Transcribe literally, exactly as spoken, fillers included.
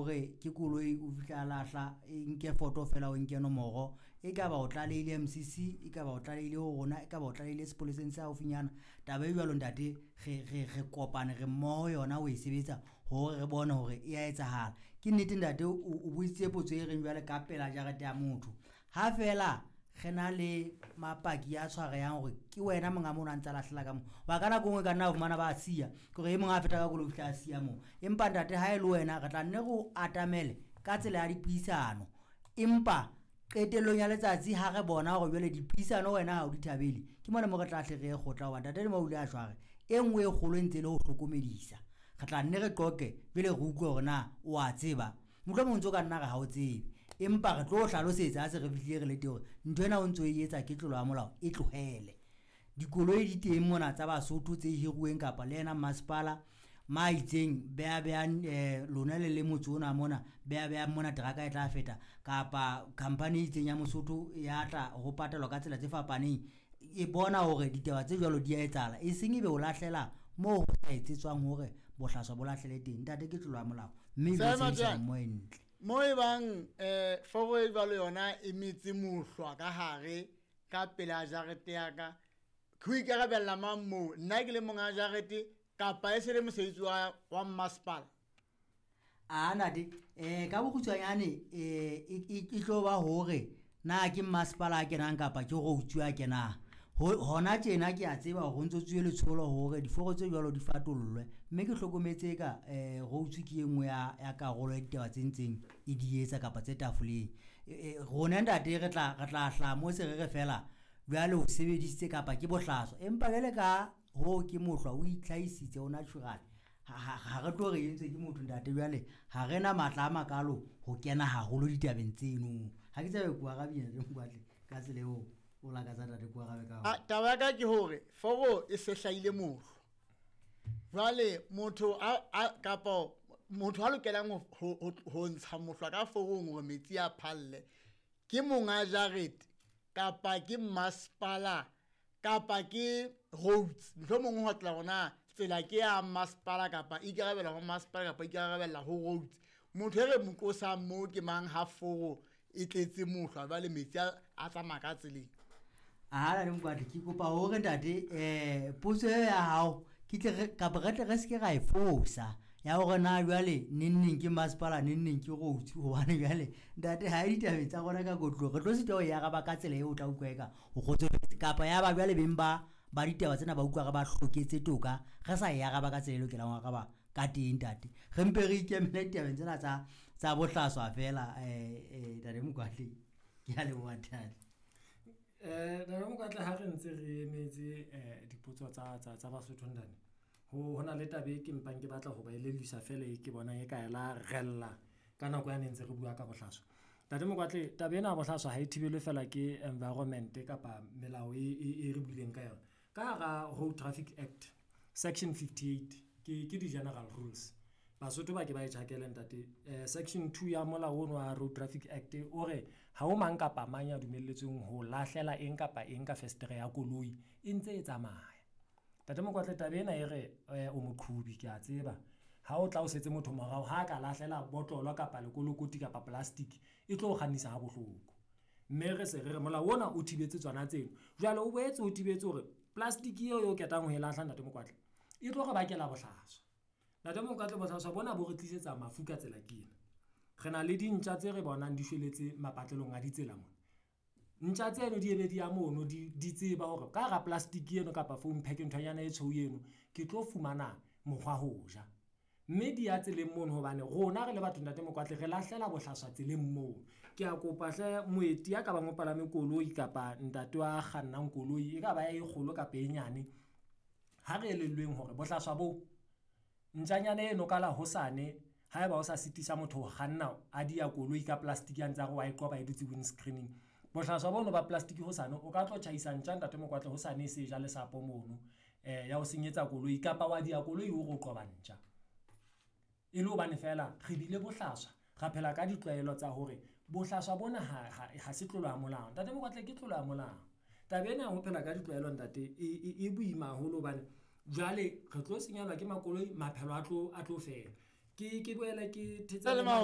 hore ke koloi o fihla a lahla, e nke foto fela o nke nomoro, e ka ba o tlalehile M C C, e ka ba o tlalehile ho rona, e ka ba o tlalehile sepoleseng se haufinyana. Taba e jwalo ntate, re re re kopane re mmoho yona ho e sebetsa hore re bone hore e a etsahala. Ke nnete ntate, o o botsitse potso e reng jwale ka pela jarete ya motho. Ha fela re na le mapaki a tshwarehang hore ke wena monga mono a ntsa lahlela ka moo, ba ka nako e nngwe ka nna fumana ba siya, ke hore e mong a feta ka koloi o fihla a siya moo. Empa ntate ha e le wena re tla nne re o atamele ka tsela ya dipuisano, empa qetellong ya letsatsi ha re bona hore jwale dipuisano wena ha o di thabele, ke mona mo re tla hle re ye kgotla. Hoba ntate le mo o ile a jware e nngwe e kgolo e ntse e le ho hlokomedisa, re tla nne re qoqe pele re utlwe hore na o a tseba. Mohlomong o ntso ka nna re ha o tsebe, empa re tlo hlalosetsa ha se re fihlile re le teng hore ntho ena o ntso e etsa ke tlolo ya molao, e tlohele. Dikoloi di teng mona tsa Basotho tse hiruweng kapa le yena masepala ma itseng beha behang, eh, lona le le motse ona mona, beha behang mona teraka e tla feta, kapa company e itseng ya Mosotho ya tla ho patalwa ka tsela tse fapaneng, e bona hore ditaba tse jwalo di a etsahala, e seng ebe o lahlela moo ho sa etsetswang hore bohlaswa bo lahlele teng. Ntate, ke tlolo ya molao, mme e Seema sebedisana Jane, mmoho e ntle. Mo e bang, eh, foro e jwalo yona e metse mohlwa ka hare ka pela jarete ya ka, ke ho ikarabella mang moo? Nna ke le monga jarete kapa e se le mosebetsi wa, wa masepala? A ntate, eh, ka bokgutshwanyane, eh, e, e, e tlo ba hore na ke masepala a kenang kapa ke roads a kenang. Ho, hona tjena ke a tseba hore ho ntso tsuwe letsholo hore diforo tse jwalo di fatollwe, mme ke hlokometse ka, eh, roads ke e nngwe ya, ya karolo ya ditaba tse ntseng e di etsa kapa tse tafoleng. E, e, rona ntate re tla, re tla hlaha mo se re re fela jwale o sebedisitse kapa ke bohlaswa, empa jwale ka ho ke mohlwa o itlhahisitse o natural, ha, ha, ha re tlo re entswe ke motho ntate. Jwale ha re na matla a makalo ho kena haholo ditabeng tseno. Ha ke tsebe ko arabile ntate Mokoatle ka tsela eo o lakatsa ntate ko arabe ka Ah, taba ya ka ke hore foro e se hlahile mohlwa. Jwale motho a, a, kapa motho a lokelang ho, ho, ho, ho ntsha mohlwa ka forong hore metsi a phalle ke monga jarete kapa ke masepala kapa ke roads. Mohlomong ho tla hona tsela ke ya masepala kapa ikarabella ho masepala kapa ikarabella ho roads. Motho e re mo qosang moo ke mang ha foro e tletse mohlwa jwale metsi a, a tsamaya ka tseleng? Aha, ntate Mokoatle, ke kopa hore ntate, eh, potso eo ya hao ke tle re, kapa re tle re se ke ra e fosa ya hore na jwale neng neng ke masepala neng neng ke roads, hobane jwale ntate ha e ditabeng tsa rona ka kotlo re tlo sitwa ho e araba ka tsela eo o tla utlwa eka o kgotsofetse, kapa ya ba jwale beng ba, ba ditaba tsena ba utlwa re ba hloketse toka, re sa e araba ka tsela e lokelang ho araba ka teng ntate. Re mpe re ikemele ditabeng tsena tsa, tsa bohlaswa fela, eh, eh, ntate Mokoatle, ke a leboha ntate. Eh, ntate Mokoatle, ha re ntse re emetse, eh, dipotso tsa, tsa, tsa Basotho ntate, ho, ho na le taba e ke mpang ke batla ho ba elelliswa fela e ke bonang e ka ela rella ka nako ya ne ntse re bua ka bohlaswa. Ntate Mokoatle, taba ena ya bohlaswa ha e thibelwe fela ke environment kapa melao e, e, e re buileng ka yona. Ka hara Road Traffic Act section fifty-eight ke, ke di-general rules. Basotho ba ke ba e tjhakele ntate. Eh, section two ya molao ono wa Road Traffic Act o re ha ho mang kapa mang ya dumelletsweng ho lahlela eng kapa eng ka festere ya koloi e ntse e tsamaya. Ntate Mokoatle, taba ena e re, eh, o moqhubi, ke a tseba. Ha o tla o setse motho morao, ha ka lahlela botlolo kapa lekolokoti kapa plastic, e tlo o kgannisa ha bohloko. Mme re se re re molao ona o thibetse tsona tseno. Jwale o boetse o thibetse hore plastic eo eo ketang ho e lahla ntate Mokoatle, e tlo re bakela bohlaswa. Ntate Mokoatle, bohlaswa bona bo re tlisetsa mafu ka tsela ke ena. Re na le dintja tse re bonang di shweletse mapatlelong a ditsela mona. Ntja tseno di ebe di ya mono, di, di tseba hore ka hara plastic eno kapa foam pack nthonyana e tshweu eno, ke tlo fumana mokgwa ho ja. Mme di ya tseleng mono hobane rona re le batho ntate Mokoatle re lahlela bohlaswa tseleng moo. Ke a kopa hle moeti ya ka bang o palame koloi kapa ntate wa kgannang koloi, e ka ba e kgolo kapa e nyane, ha re elellweng hore bohlaswa bo ntjanyana eno ka la hosane, haeba o sa sitisa motho ho kganna a dia koloi ka plastic ya ntse a re wa e qoba e dutse windscreening. Bohlaswa bono ba plastic hosane o ka tlo tjhaisa ntja ntate Mokoatle hosane e se ja lesapo mono, eh, ya ho senyetsa koloi kapa wa dia koloi o re o qoba ntja. E le hobane fela re bile bohlaswa, ra phela ka ditlwaelo tsa hore bohlaswa bona ha, ha, ha se tlolo ya molao. Ntate Mokoatle, ke tlolo ya molao. Taba ena ya ho phela ka ditlwaelo ntate e, e, e boima haholo hobane jwale re tlo senyelwa ke makoloi, maphelo a tlo, a tlo fela. Ke, ke boele ke thetsane Tsele Mao.